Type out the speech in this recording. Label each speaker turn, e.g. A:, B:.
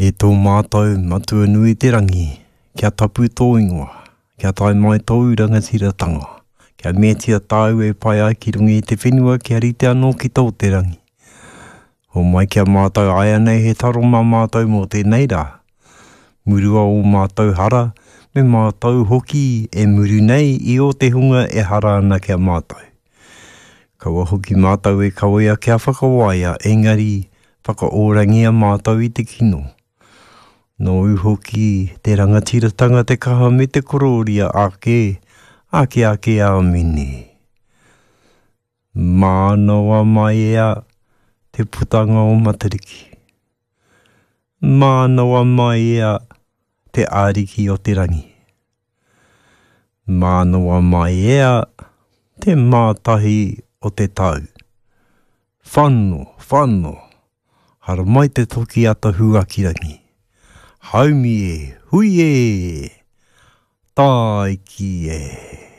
A: E tō mātou Matua nui te rangi, kia tapu tō ingoa, kia tae mai tōu rangatiratanga, kia meatia tāu e pai ai ki runga i te whenua kia rite anō ki tō te rangi. Homai ki a mātou āianei he taro mā mātou mō tēnei rā. Murua ō mātou hara, me mātou hoki e muru nei i ō te hunga e hara ana ki a mātou. Kaua hoki mātou e kawea kia whakawaia, engari whakaorangia mātou i te kino. Nōu hoki te rangatiratanga, te kaha me te korōria ake, ake ake āmine. Mānawa maiea te putanga o Matariki. Mānawa maiea te Ariki o te rangi. Mānawa maiea te mātahi o te tau. Whano, whano, haramai te toki ata huakirangi. Haumi e, hui e, tāiki e.